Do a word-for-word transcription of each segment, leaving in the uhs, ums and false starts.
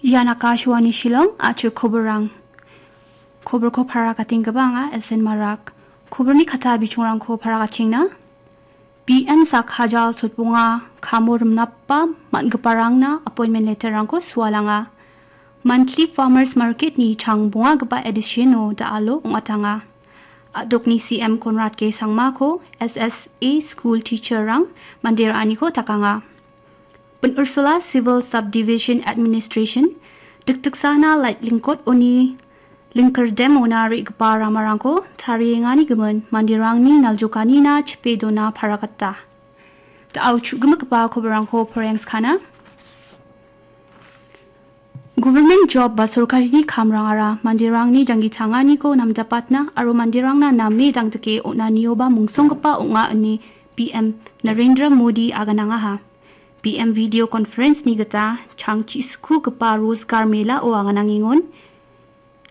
Ian Akashvani Shillong, a·chik koborrang. Koborko paragatenggipaba anga S N Marak. Koborni kata bichongrangko paragachengna. B M sak hajal sotbonga kamo rimnapa man·giparangna appointment letterrangko sualanga. Monthly Farmers Marketni chang bongagipa editiono da·alo ong·atanga. A·dokni C M Conrad K Sangmako S S A school teacherrang mande ra·aniko dakanga. Pin Ursula Civil Subdivision Administration, dikdiksana Laitlingkot oni Lingkirdemona re·gipa ramarangko tariengani gimin manderangni naljokanina chipe dona paragata. Da·o chu·gimigipa koborrangko porengskana. Government job ba sorkarini kamrangara manderangni janggi changaniko namjapatna aro manderangna name dangdike on·anioba mungsonggipa ong·a ine B M Narendra Modi aganangaha. B M video conference-ni gita chang chi·sikugipa Rozgar Mela-o aganangengon.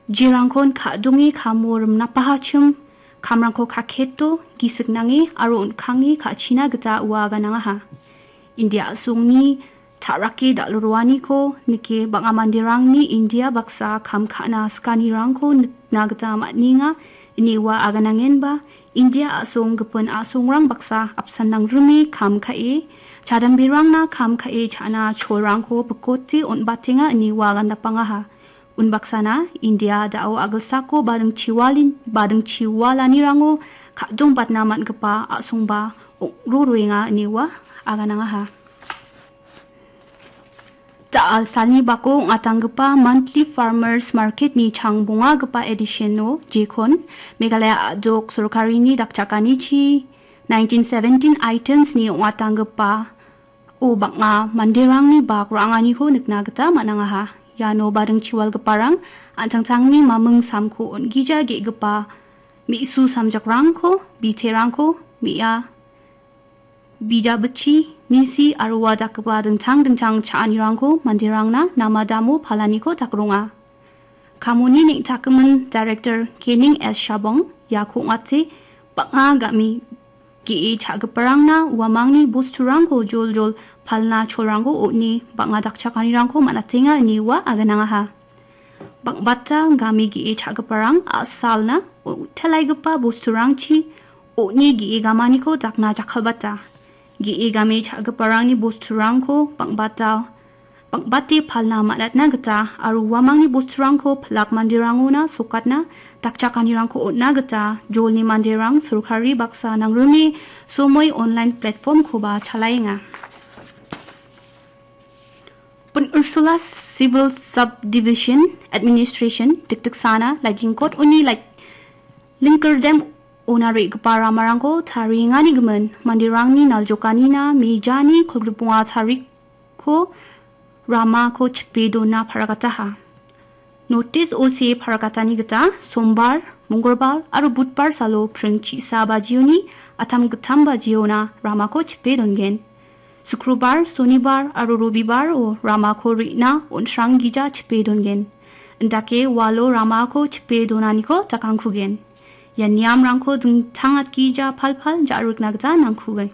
Jerangkon ka·donge kamo rimnapahachim kamrangko kaketo, gisik nange aro on·kange ka·china gita ua aganangaha. India a·songni ta·rake dal·roaniko nike bang·a manderangni India baksa kam ka·na sikanirangko nikna gita man·enga, ine ua aganangenba India a·song gipin a·songrang baksa apsan nangrime kam ka·e, chadamberangna kam ka·e cha·na cholrangko bikote on·batenga ine ua agandapangaha. Unbaksana India da·o a·gilsako badingchiwalin-, badingchiwalanirango ka·dongbatna man·gipa a·songba ong·ro roenga ine ua aganangaha. Da·al salni bako ong·atanggipa Monthly Farmers Market-ni chang bongagipa edition-o jekon Meghalaya a·dok sorkarini dakchakanichi nineteen seventeen items-ni ong·atanggipa o bang·a manderangni bak ra·anganiko nikna gita man·angaha. Iano badingchiwalgiparang an·tangtangni maming samko on·gija ge·gipa me·su samjakrangko, biterangko, me·a bijabichi, misi aro ua dakgipa dingtang dingtang cha·anirangko manderangna namadamo palaniko dakronga. Kamoni neng·takgimin Director Kening S Shabong iako ong·ate bang·a game ge·e cha·giparangna uamangni bosturangko joljol palna cholrangko on·e bang·a dakchakanirangko man·atenga ine ua aganangaha. Bang·bata game ge·e cha·giparang a·salna on·telaigipa bosturangchi on·e ge·e gamaniko dakna jakkalbata. Ge·e game cha·giparangni bosturangko bang·bata, bang·bate palna man·atna gita aro uamangni bosturangko pilak manderangona sokatna dakchakanirangko on·na gita jolni manderang sorkari baksa nangrime Somoi online platform-koba chalaenga. Pin Ursula Civil Subdivision Administration dikdiksana Laitlingkot oni Lait-, Lingkirdem ona re·gipa ramarangko tariengani gimin manderangni naljokanina mejani kolgrikbonga tarikko ramako chipe dona paragataha. Notice-o see paragatani gita Sombar, Mongolbar aro Budbar salo pring chi·sa bajioni atam gittam bajiona ramako chipe dongen. Sukrobar, Sonibar aro Robibaro ramako re·na on·sranggija chipe dongen. Indake walo ramako chipe donaniko dakangkugen. Ia niamrangko dingtang atgija palpal ja·rikna gita nangkugen.